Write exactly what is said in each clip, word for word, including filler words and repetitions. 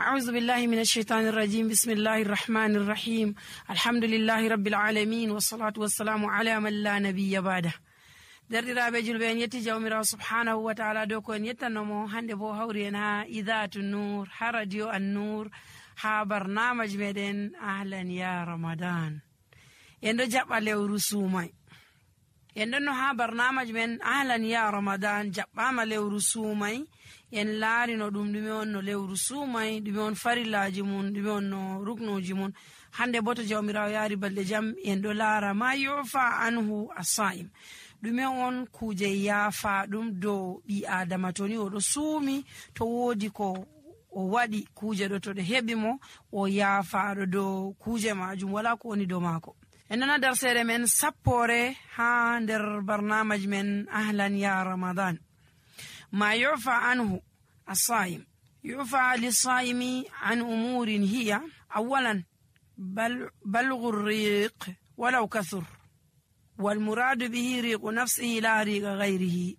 أعوذ بالله من الشيطان الرجيم. بسم الله الرحمن الرحيم. الحمد لله رب العالمين، والصلاة والسلام على من لا نبي بعده. Derɗiraaɓe julɓe, en yetti Jawmiraawo subhaanahu wa taala dow ko en yettanno mo. Hannde bo hawri en haa Idaatu Nuur, haa Radio An Nuur, haa barnaamaj meɗen Ahlan ya Ramadan. En ɗo jaɓɓa lewru suumay. En ɗonno haa barnaamaj men Ahlan ya Ramadan, jaɓɓaama lewru suumay. En laarino ɗum, ɗume on no lewru suumay, ɗume on farillaaji mum, ɗume on no ruknuuji mum. Hannde bo to Jawmiraawo yaari balɗe jam, en ɗo laara ma yufa anhu as-sa'im. Ɗume on kuuje yaafa ɗum dow ɓii Aadama to ni o ɗo suumi, to woodi ko o waɗi kuuje ɗo, to ɗe heɓi mo, o yaafaaɗo dow kuuje maajum, wala ko woni dow maako. En nana darseere men sappoore haa nder barnaamaj men Ahlan ya Ramadan. Ma yufa anhu as-sa'im. Yufa lis-sa'imi an umurin hiya, awwalan, bal-, balgu riq walaw kathur. Wal muradu bihi riqu nafsihi la riqa ghayrihi.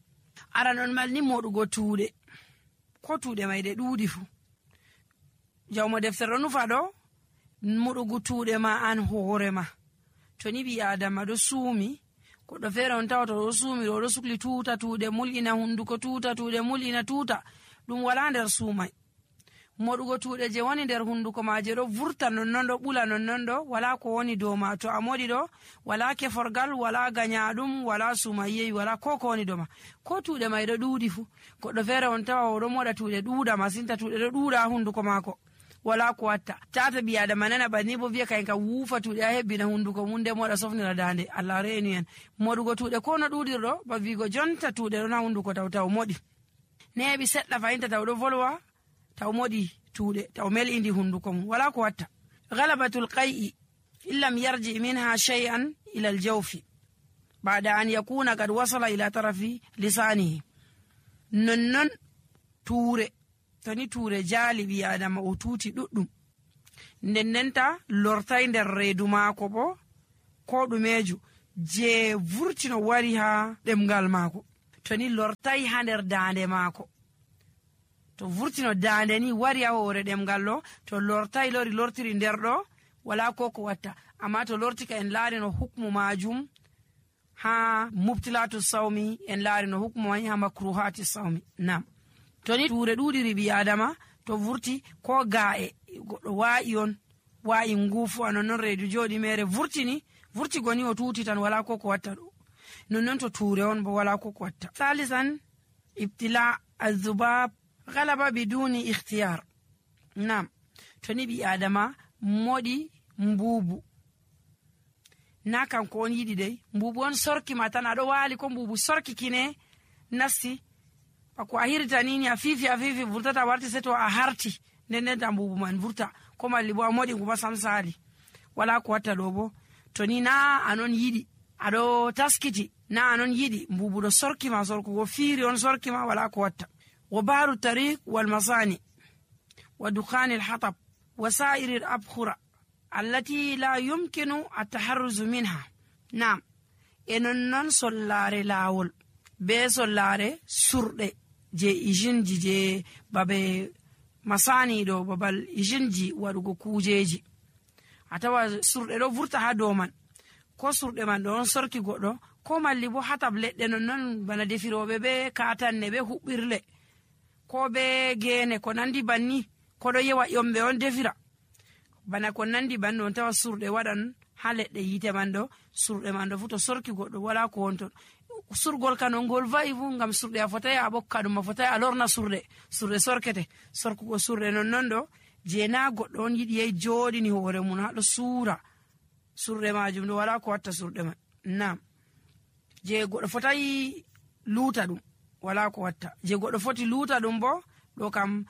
Aran on malni moɗugo tuuɗe. Ko tuuɗe may ɗe ɗuuɗi fu. Jawmo deftere ɗo nufa ɗo, moɗugo tuuɗe ma an hoore ma. To ni ɓii Aadama ɗo suumi, goɗɗo feere on tawata o ɗo suumi ɗo, o ɗo sukli tuuta tuuɗe, mul'ina hunduko tuuta tuuɗe, mul'ina tuuta. Ɗum wala nder suumay. Moɗugo tuuɗe je woni nder hunduko ma je ɗo vurta nonnon ɗo, ɓula nonnon ɗo, wala ko woni dow ma. To a moɗi ɗo, wala keforgal, wala ganyaɗum, wala suuma yewi, wala ko ko woni dow ma. Ko tuuɗe may ɗo ɗuuɗi fu. Goɗɗo feere on tawa o ɗo moɗa tuuɗe ɗuuɗa masin, ta tuuɗe ɗo ɗuuɗa ha hunduko maako. Wala ko watta. Tata ɓii Aadama nana banni bo vi'a kayen kam wuufa tuuɗe ha hebbina hunduko mum, nde moɗa sofnira dande. Allah reenu en. Moɗugo tuuɗe ko no ɗuuɗirɗo, ba vi'go jonta tuuɗe ɗon ha hunduko taw taw moɗi. Neeɓi seɗɗa fahin ta taw ɗo volwa, taw moɗi tuuɗe, taw mel'indi hunduko mum. Wala ko watta. Ghalabatul qay'i, in lam yarji minha shay'an ila al-jawfi, ba'da an yakuna qad wasala ila tarafi lisanihi. Nonnon tuure, to ni tuure jaali ɓii Aadama o tuuti ɗuɗɗum. Nden ndenta lortay nder reedu maako bo, ko ɗumeejo je vurtino wari ha ɗemngal maako. To ni lortay ha nder daande maako. To vurtino daande ni wari ha hoore ɗemngal ɗo, to lortay lori lortiri nder ɗo, wala ko ko watta. Amma to lorti ka en laarino hukmu maajum, ha mubtilatu sawmi, en laarino hukmu may ha makruhati sawmi. Nam. To ni tuure ɗuuɗiri ɓii Aadama, to vurti ko ga'e, goɗɗo wa'i on, wa'i ngufu, a nonnon reedu jooɗi mere vurtini, vurti goni o tuuti tan wala ko ko watta ɗo. Nonnon to tuure on bo wala ko ko watta. Salisan, ibtila azubab galaba biduni ikhtiyar. Nam. To ni ɓii Aadama moɗi mbuubu. Na kanko on yiɗi dey. Mbuubu on sorki ma tan, a ɗo waali ko mbuubu sorki kine nasti. Bako a hirita ni, ni a fifi, a fifi, vurtata warti, se to a harti. Nden nden ta mbuubu man vurta. Ko malli bo a moɗi ngu ma sam saali. Wala ko watta ɗo bo. To ni na a non yiɗi. A ɗo taskiti. Na a non yiɗi. Mbuubu ɗo sorki ma, sorkugo fiiri on sorki ma, wala ko watta. Wa baru tariq wal masani. Wa dukhanil hatab. Wa sa'iril abkhura. Allati la yumkinu at-taharruzu minha. Naam. E non non sollaare laawol. Be sollaare surɗe je ijinji je babe masani ɗo, babal ijinji waɗugo kuujeji. A tawa surɗe ɗo vurta ha dow man. Ko surɗe man ɗo on sorki goɗɗo, ko malli bo hatab leɗɗe non non bana defirooɓe be katanne be huɓɓirle. Ko be gene ko nandi banni, ko ɗo yewa ƴomɓe on defira. Bana ko nandi banni on tawa surɗe waɗan ha leɗɗe yiite man ɗo, surɗe man ɗo fu to sorki goɗɗo wala ko wonton. Surgol kan on ngol va'i fu ngam surɗe a fotai a ɓokka ɗum, a fotai a lorna surɗe. Surɗe sorkete, sorkugo surɗe non non ɗo, je na goɗɗo on yiɗi yahi jooɗini hoore mum ha ɗo suura. Surɗe maajum ɗo wala ko watta surɗe man. Naam. Je goɗɗo fotai luuta ɗum, wala ko watta. Je goɗɗo foti luuta ɗum bo, ɗo kam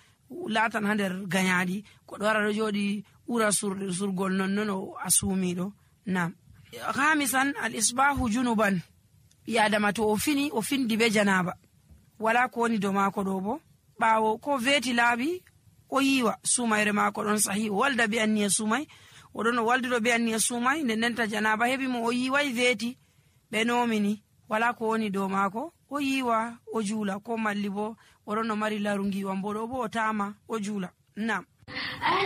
laatan ha nder gañaaɗi. Goɗɗo wara ɗo jooɗi ɓura surɗe, surgol non non o a suumiiɗo. Naam. Khamisan, al isbahu junuban. Ɓii Adama to o fini, o findi be janaaba. Wala ko woni dow maako ɗo bo. Ɓaawo ko veeti laaɓi, o yiiwa suumayre maako ɗon sahi. O walda be anniya suumay. O ɗon o waldiro be anniya suumay. Nden ndenta janaaba heɓi mo, o yiiway veeti. Ɓe noomini. Wala ko woni dow maako. O yiiwa, o juula. Ko malli bo, o ɗon o mari laru ngiiwam bo ɗo bo o taama, o juula. Naam. أهلا